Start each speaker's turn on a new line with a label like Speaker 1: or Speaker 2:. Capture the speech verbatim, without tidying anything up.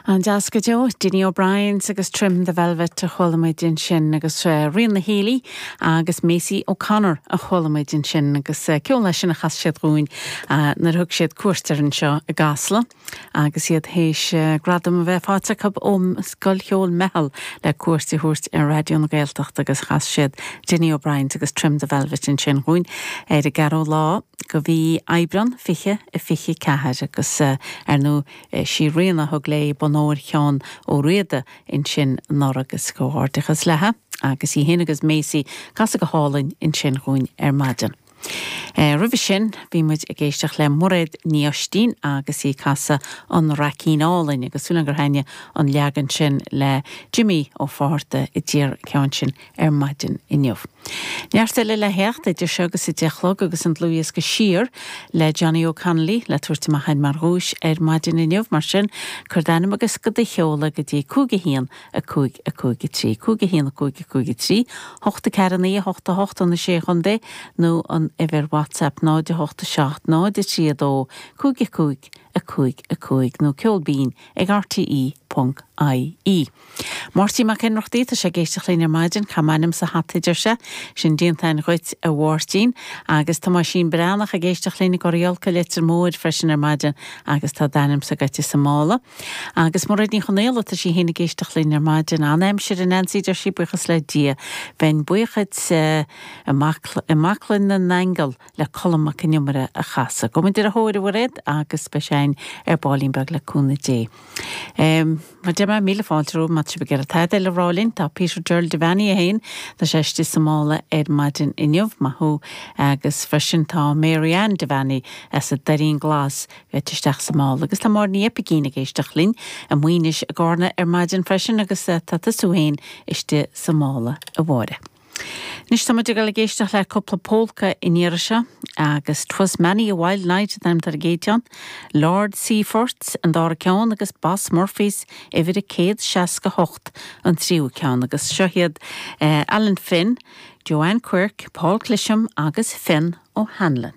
Speaker 1: An-deas go deo, Dinny O'Brien's agus Trim the Velvet a chuala muid ansin agus uh, Ríona Healy agus Macy O'Connor a chuala muid ansin agus uh, ceol leis sin a chas siad dúinn uh, nuair thug siad cuairt anseo i gCasla agus iad théis uh, gradam a bheith faighte acu ó Scoil Cheoil Meitheal le cuairt a thabhairt ar Raidió na Gaeltachta agus chas siad Dinny O'Brien's agus Trim the Velvet ansin dúinn ar an gceathrú lá de mhí Aibreán fiche a fiche ceathair agus uh, ar nó uh, sí Ríona thug léi bonn óir Sheáin Ó Riada ansin anuraidh agus comhghairdeachas léi agus í féin agus Macy casadh go hálainn ansin dúinn ar maidin. E, Roimhe sin bhí muid ag éisteacht le Mairéad Ní Oistín agus í ag casadh an Raicín Álainn agus súil gur thaitnigh an leagan sin le Jimmy Ó Fátharta i dtír ceann sin ar maidin inniu. Neart eile le theacht idir seo agus a deich a chlog agus an dlúthdhiosca Siar le Johnny O'Connolly le tabhairt amach mar dhuais ar maidin inniu mar sin cuir d'ainm agus go do sheoladh go dtí cúig a haon a cúig a cúig a trí cúig a haon a cúig a cúig a trí, hocht a ceathair naoi hocht a hocht an sé chontae nó an uimhir WhatsApp náid a hocht a seacht náid a trí a dó cúig a cúig a cúig a cúig nó ceol binn ag RTE.ie. Máirtín Mac Ionnrachtaigh tá sé ag éisteacht linn ar maidin caith m'ainm sa hata deir sé sin déanta agat a Mháirtín agus Tomáisín Breathnach ag éisteacht linn i gCorriolca Leitir Móir freisin ar maidin agus tá d'ainm agat sa mála. Agus Mairéad Ní Chonaola tá sí féin ag éisteacht linn ar maidin an-aimsir a Nancy deir sí buíochas le Dia. Bheinn buíoch i mBaclainn na nAingeal le Colm Mac Con Iomaire a chasadh. Go ar a thóir Mhairéad agus beidh sé ar baillín beag le cúnamh Dé. Um, Mar de míle fáilte má be gur tada le rálinn tá Peter Gerald Devaney a hain Tá sé istigh sa mála ar maidin inniu maith thú agus freisin tá Marianne Devaney as an Doirín Glas bheit isteach sa mála agus tá mar ní epigín ag éisteacht linn a muoinis a gcóna ar maidin freisin agus tá tú féin istigh sa mála a Mháire. Anois tá ag ag éisteacht le cúpla polca in iarse agus 'Twas many a wild night an tar géitean, Lord Seaforth an dara ceann agus Boss Murphys uimhir a céad seasca hocht an tríú ceann agus seo iad eh, Alan Finn, Joanne Quirk, Paul Clisham agus Finn O'Hanlon.